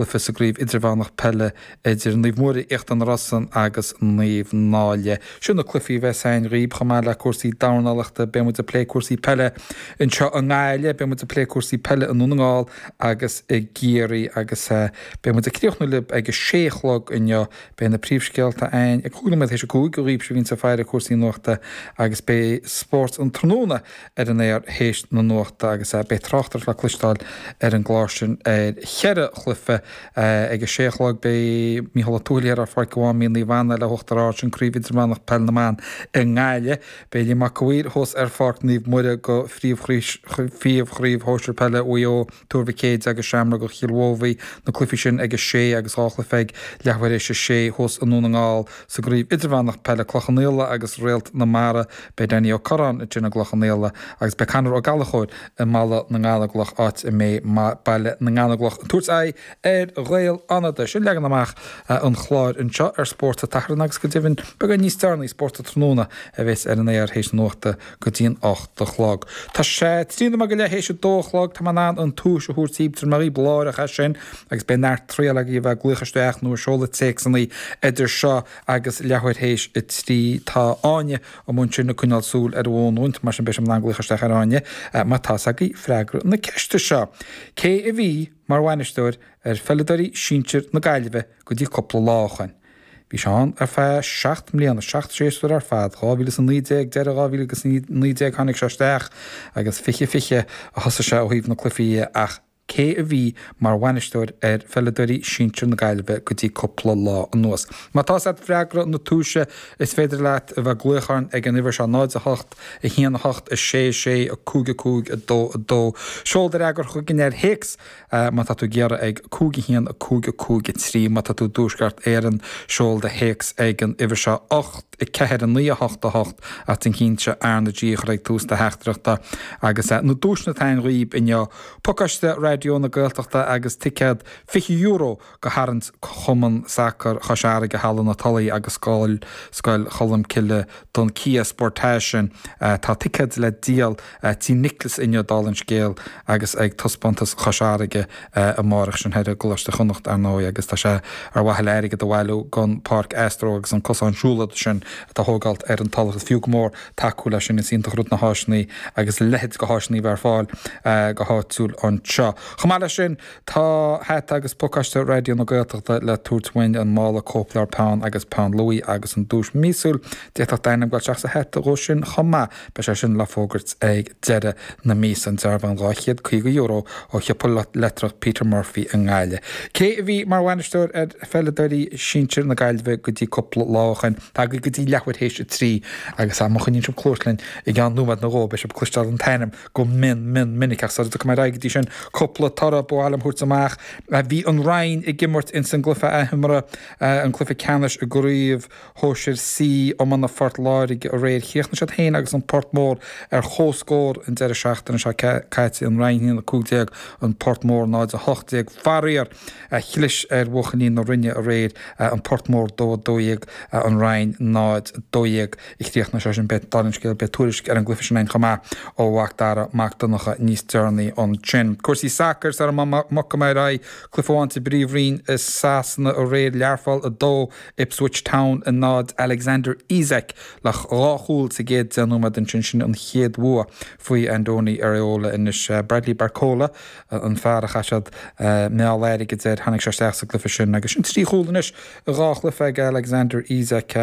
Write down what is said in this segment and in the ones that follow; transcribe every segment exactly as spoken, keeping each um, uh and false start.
Cluiche sa gcraobh idirmheánach peile idir Naomh Muire Íochtar na Rosann agus Naomh Náille. Sin na cluichí a bheas againn dhaoib chomh maith le cúrsaí dornálaíochta, beidh muid ag plé cúrsaí peile anseo i nGaillimh, beidh muid ag plé cúrsaí peile i nDún na nGall agus i gCiarraí agus beidh muid ag críochnú libh ag a sé a chlog inniu. Beidh na príomhscéalta againn ag cúig nóiméad théis a cúig dhaoibhse a bhíonns ag faire cúrsaí nuachta agus beidh Spórt an Tráthnóna ar an aer théis na nuachta agus beidh tráchtaireacht le cloisteáil ar an gclár sin ar cheithre chluiche ag a sé a chlog. Beidh Mícheál Ó Tuathail ar Pháirc Mháimín Naomh Anna le hUachtar Ard, sin Craobh Idirmheánach Peil na mBan i nGaillimh. Beidh Liam Mac a' Mhaoir thuas ar Pháirc Naomh Muire go Phríomhchraobh Shóisir Peile Mhaigh Eo, Tuar Mhic Éide agus Seamróga Chill Mhóbhaí, na cluichí sin ag a sé agus dhá chluiche ag leathuair théis a sé thuas i nDún na nGall sa gCraobh Idirmheánach Peile, Cloich Cheann Fhaola agus Réalt na Mara. Beidh Danny Ó Curráin ansin i gCloich Cheann Fhaola agus beidh Conor Ó Gallchóir i mBaile na nGallóglach, áit a mbeidh Baile na nGallóglach ag tabhairt aghaidh ar Ghaeil Fhánada. Sin leagan amach an chláir anseo ar Spórt an tSathairn agus go deimhin beagán níos deireanaí, Spórt an Tráthnóna a bheas ar an aer théis na nuachta go dtí an ocht a chlog. Tá sé trí nóiméad go leith théis a dó a chlog, tá mé in ann an tomhais a thabhairt daoibh, tabharfaidh mé dhaoibh láithreach é sin agus beidh neart triail agaibh a bheith ag glaoch isteach nó ag seoladh téacsanna idir seo agus leathuair théis a trí. Tá Áine amuigh ansin ag coinneáil súil ar an bhfón uait, mar sin beidh sibh in ann glaoch isteach ar Áine má tá's agaibh freagra na ceiste seo. Cé a bhí mar bhainisteoir ar pheileadóirí sinsir na Gaillimhe go dtí cúpla lá ó shoin? Bhí sé ann ar feadh seacht mbliana, seacht séasúr ar fad, dhá mhíle is a naoi déag, deireadh dhá mhíle agus a naoi déag tháinig sé isteach agus fiche fiche a thosaigh sé ó thaobh na cluichí dhe ach cé a bhí mar bhainisteoir ar pheileadóirí sinsir na Gaillimhe go dtí cúpla lá anuas? Má tá's agat freagra na tomhaise is féidir leat a bheith ag glaoch orainn ag an uimhir seo, náid a hocht, a haon a hocht, a sé a sé, a cúig a cúig, a dó a dó. Seol do fhreagra chugainn ar théacs má tá tú ag iarraidh ag cúig a haon, a cúig a cúig a trí. Má tá tú i dTuaisceart Éireann, seol do théacs ag an uimhir seo, ocht, a ceathair, a naoi, a hocht, a hocht, ach déan cinnte R na G a chur ag tús do theachtaireachta. Agus na duaiseanna atá againn dhaoib inniu, pacáiste Raidió na Gaeltachta agus ticéad fiche euro go tharraingt Chumann Sacair Chois Fharraige Halla na Tulaí agus Scoil Scoil Cholmcille don Kia Sportage sin. Tá ticéid le díol Tí Nicholas inniu dála an scéil agus ag Taispeántas Chois Fharraige amárach, sin thoir i gColáiste Chonnacht ar ndóigh agus tá sé ar mhaithe le airgead a bhailiú don Páirc Astro agus an cosán siúlóide sin atá á thógáilt ar an Tulach. Is fiú go mór tacú leis sin, is iontach rud na háiseanna agus a leithéid de háiseanna a bheith ar fáil go háitiúil anseo. Chomh maith leis sin tá hata agus pacáiste Raidió na Gaeltachta le tabhairt uainn, an mála cóipleabhar peann agus peann luaidhe agus an duais míosúil. D'fhéadfadh d'ainm dul isteach sa hata dhó sin chomh maith. Beidh sé sin le fógairt ag deireadh na míosa, an dearbhán dhá chéad caoga euro ó shiopa leictreach Peter Murphy i nGaillimh. Cé a bhí mar bhainisteoir ar pheileadóirí sinsir na Gaillimhe go dtí cúpla lá ó shoin? Tá agaibh go dtí leathuair théis a trí agus má choinníonn sibh cluas linn i gceann nóiméad nó dhó beidh sibh ag cloisteáil an t-ainm go mion mion minic ach sara dtiocfaidh mé ar aghaidh go dtí sin cúpla toradh ba mhaith liom thabhairt amach. Bhí an Rinn ag imirt ins an gcluiche athimeartha, an cluiche ceannais i gcraobh Shóisir C Iomána Phort Láirge aréir. Chríochnaigh siad féin agus an Port Mór ar comhscór an deireadh seachtaine seo caite, an Rinn a haon a cúig déag, an Port Mór náid a hocht déag. Faraor, chlis ar bhuachaillí na Rinne aréir, an Port Mór dó a dó dhéag, an Rinn náid a dó dhéag a chríochnaigh sé sin. Beidh, dála an scéil, beidh tuairisc ar an gcluiche sin againn chomh maith ó Mhac Dara Mac Donncha níos deireanaí ansin. Cúrsaí sacair sara mbogfaidh mé ar aghaidh, cluiche amháin sa bPríomhroinn i Sasana aréir, Learpholl a dó, Ipswich Town a náid, Alexander Isak le dhá chúl sa gcéad deich nóiméad ansin, sin an chéad bhua faoi Andoni Iraola anois. Bradley Barcola an fear a chaith siad meall airgid air, tháinig sé isteach sa gcluiche sin agus sin trí chúl anois i dhá chluiche ag Alexander Isak.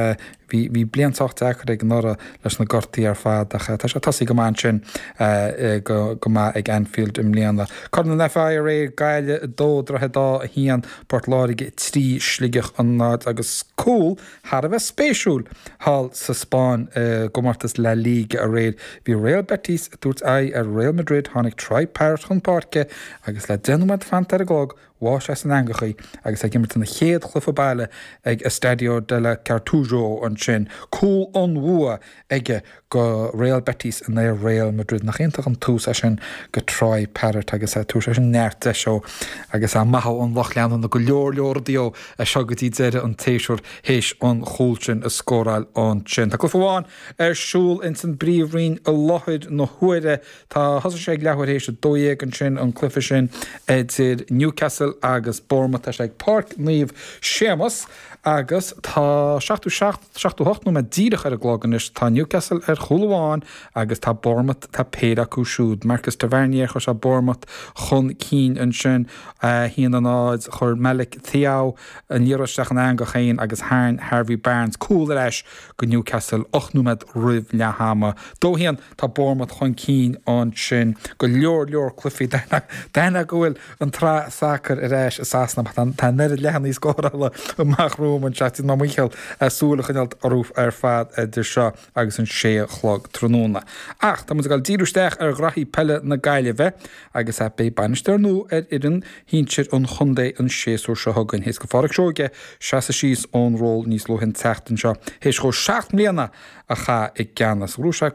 Bhí bhí bliain sách deacair aige anuraidh leis na gortaí ar fad ach tá sé tosaithe go maith ansin go go maith ag Anfield i mbliana. Corn an FAI aréir, Gaillimh a dó, Droichead Átha a haon, Port Láirge a trí, Sligeach a náid agus cúl thar a bheith spéisiúil thall sa Spáinn i gcomórtas La Liga aréir. Bhí Real Betis ag tabhairt aghaidh ar Real Madrid, tháinig Troy Parrott chun páirce agus le deich nóiméad fanta ar an gclog, Bháigh sé san eangach í agus é ag imirt ina chéad chluiche baile ag Estadio de la Cartuja ansin. Cúl an bhua aige go Real Betis in aghaidh Real Madrid. Nach iontach an tús é sin go Troy Parrott agus tabharfaidh sé sin neart deis dó agus maith ón lucht leanúna go leor leor rudaí ó seo go dtí deireadh an tséasúir théis an chúl sin a scóráil ansin. Tá cluiche amháin ar siúl ins an bPríomhroinn i láthair na huaire. Tá, thosaigh sé ag leathuair théis a dó dhéag ansin, an cluiche sin idir Newcastle Newcastle agus Bournemouth. Tá sé ag Páirc Naomh Séamus agus tá seachtó seacht, seachtó hocht nóiméad díreach ar an gclog anois. Tá Newcastle ar chúl amháin agus tá Bournemouth, tá péire acu siúd. Marcus Tavernier, chuir sé Bournemouth chun cinn ansin, a haon a náid. Chuir Malick Thiaw an liathróid isteach an eangach féin agus tharraing Harvey Barnes cúl ar ais go Newcastle ocht nóiméad roimh leath ama. Dó haon, tá Bournemouth chun cinn ansin. Go leor leor cluichí daonna go bhfuil an tsraith sacair ar ais i Sasana. Tá an oiread leathanaigh scórála amach romham anseo, déanfaidh mé mo dhícheall súil a choinneáil orthu ar fad idir seo agus an sé a chlog tráthnóna. Ach tá muid ag dul díriú isteach ar ghraithí peile na Gaillimhe agus beidh bainisteoir nua ar fhoireann shinsir an chontae an séasúr seo chugainn. Théis do Pháraic Seoige seasamh síos ón ról níos luaithe an tseachtain seo théis dhó seacht mbliana a chaitheamh i gceannas. Bhuaigh sé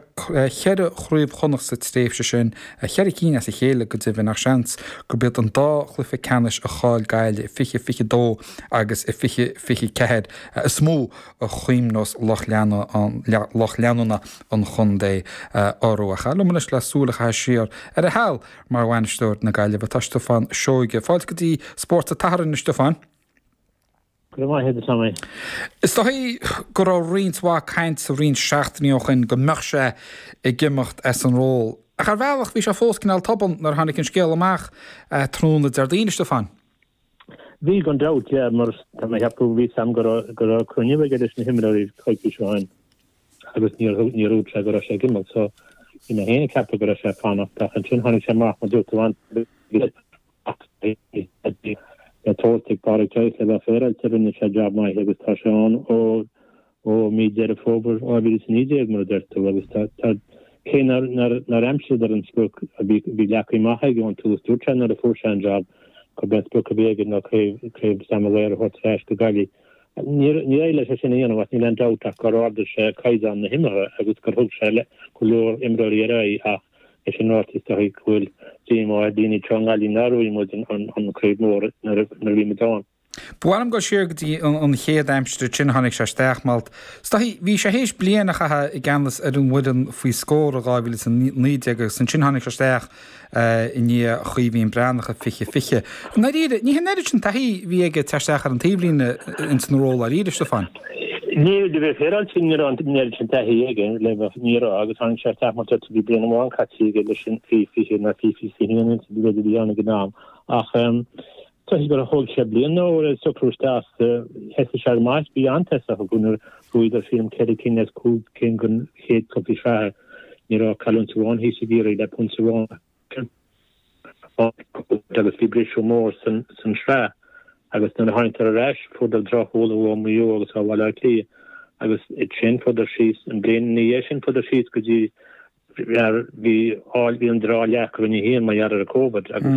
cheithre chraobh Chonnacht sa tréimhse sin, cheithre cinn as a chéile go deimhin, ach seans gurb iad an dá chluiche ceannais a chaill Gaillimh i fiche fiche dó agus i fiche fiche ceathair is mó a chuimhneos lucht leanúna an chontae orthu. Ach liom anois le súil a chaitheamh siar ar a sheal mar bhainisteoir na Gaillimhe tá Stiofán Seoige. Fáilte go dtí Spórt an tSathairn, a Stiofáin. Go raibh maith agat, a Tommy. Is dóigh go raibh roinnt mhaith cainte roinnt seachtainí ó shin go mbeadh sé ag imeacht as an ról. Ach ar bhealach bhí sé fós cineál tobann nuair a tháinig an scéal amach tráthnóna Déardaoin, a Stiofáin. Bhí gan dabht, yeah, mar tá mé ag ceapadh bhí a fhios agam go raibh go raibh cruinniú aige leis na himreoirí coicís ó shin agus níor níor dhúirt sé go raibh sé ag imeacht so bhí mé féin ag ceapadh go raibh sé ag fanacht ach ansin tháinig sé amach mar dúirt tú an le tabhairt ag Pádraic Joyce le bheith féaráilte rinne sé jab maith agus tá sé ann ó ó mí Deireadh Fómhair dhá mhíle is a naoi déag mar a deir tú agus tá tá cé nár nár nár aimsíodar an sprioc a bhí bhí leagtha amach aige ón tús dúirt sé nuair a fuair sé an jab gurb é an sprioc a bhí aige ná craobh craobh Sam Maguire a thabhairt ar ais go Gaillimh. Níor níor éirigh leis é sin a dhéanamh ach níl aon dabht ach gur ardaigh sé caighdeán na himeartha agus gur thug sé le go leor imreoirí ar aghaidh ach é sin ráite is dóigh go bhfuil díomá ar dhaoine anseo i nGaillimh nár bhuaigh muid an an an craobh mór nuair a nuair a bhí muid ann. Ba mhaith liom dul siar go dtí an chéad aimsir sin a tháinig sé isteach, mar is dóigh, bhí sé théis bliain a chaitheamh i gceannas ar an bhfoireann faoi scór i dhá mhíle is a naoi déag agus ansin tháinig sé isteach i ndiaidh Chaoimhín Breathnach i fiche fiche. I ndáiríre, ní hin an oiread sin taithí a bhí aige ag teacht isteach ar an taobhlíne ins an ról dáiríre, Stiofán. Ní, le bheith féaráilte, ní raibh an oiread sin taithí aige, le bheith, ní raibh, agus tháinig sé isteach mar bhí bliain amháin caite aige leis an faoi fiche nó faoi fiche a haon, b'fhéidir a bhí ann ag an am. Ach Toisc gur thóg sé bliain nó le socrú isteach, thosaigh sé go maith, bhí an-tosach acu nuair a bhuadar sílim ceithre cinn as cúig cinn den chéad cluichí sraithe. Ní raibh cailliúint amháin thíos i gCiarraí le pointe amháin agus bhí briseadh mór san sraith agus nuair a tháinigdar ar ais fuaireadar droch-chúl ó Mhaigh Eo agus ó Bhaile Átha Cliath agus ansin fuaireadar síos an bhliain ina dhiaidh sin fuaireadar síos go dtí Bhí bhí an dráth leac Roinn a haon mar gheall ar an Covid agus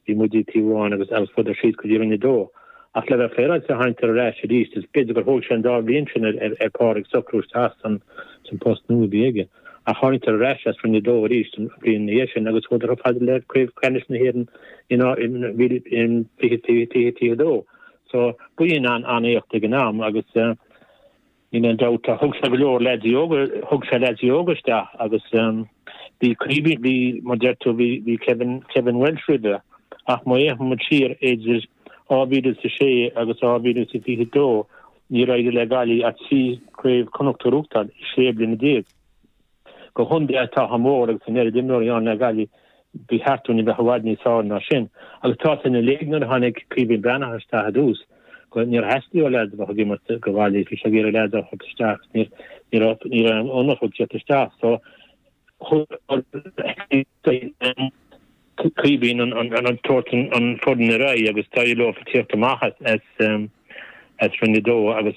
bhí muid taobh amháin agus agus fuaireadar síos go dtí Roinn a dó. Ach le bheith féaráilte tháinigdar ar ais arís is b'fhéidir gur thóg sé an dá bhliain sin ar ar Pádraig socrú isteach san san post nua a bhí aige. Ach tháinigdar ar ais as Roinn a dó arís an bhliain ina dhiaidh sin agus chuadar chomh fada le Craobh Ceannais na hÉireann in in in fiche fiche fiche fiche dó. So b'in an an-éacht ag an am agus Níl aon dabht, thug sé go leor leaids óga, thug sé leaids óga isteach agus bhí Caoimhín, bhí, mar deir tú, bhí, bhí Kevin, Kevin Walsh roimhe ach má fhéachann muid siar idir dhá mhíle is a sé agus dhá mhíle is a fiche dó níor éirigh le Gaillimh ach trí Chraobh Chonnacht a ghnóthachtáil i sé bliana déag. Do chontae atá chomh mór agus an oiread imreoirí ann le Gaillimh, ba cheart dúinn a bheith i bhfad níos fearr ná sin. Agus tá sin uilig nuair a tháinig Caoimhín Breathnach isteach i dtús, go níor theastaigh ó leaids a bheith ag imirt do Ghaillimh, bhí sé ag iarraidh leaids a thabhairt isteach agus níor ní raibh ní raibh aon ionadh ag tíocht isteach. So Caoimhín an an an tabhairt an foireann ar aghaidh agus d'éirigh leo tíocht amach as as as Roinn a dó agus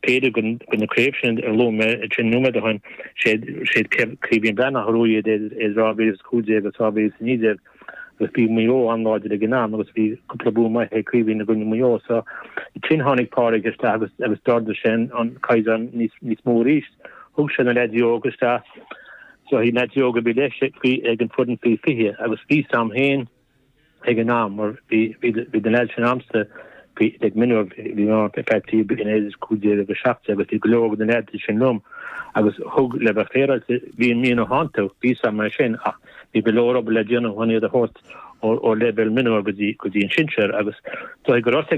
b'fhéidir go na craobh sin a luaigh mé ansin nóiméad ó shin, sé Caoimhín Breathnach a bhuaigh iad idir dhá mhíle is cúig déag agus dhá mhíle is a naoi déag agus bhí Maigh Eo an-láidir ag an am agus bhí cúpla bua maith ag Caoimhín i gcoinne Mhaigh Eo so ansin tháinig Pádraig isteach agus agus d'ardaigh sé an caighdeán níos níos mó arís. Thug sé na leaids óga isteach so bhí leaids óga a bhí leis ag an foireann faoi fiche agus bhí a fhios a'm féin ag an am mar bhí bhí bhí na leaids sin a'msa bhí ag mionúr bhí mé ar feadh trí bliana idir cúig déag agus seacht déag agus bhí go leor de na leaids sin liom agus thug le bheith féaráilte bhí an mianach iontu bhí a fhios a'm é sin ach bhí go leor obair le déanamh chun iad a thabhairt ó leibhéal mionúr go dtí go dtí an sinsear agus dóigh go raibh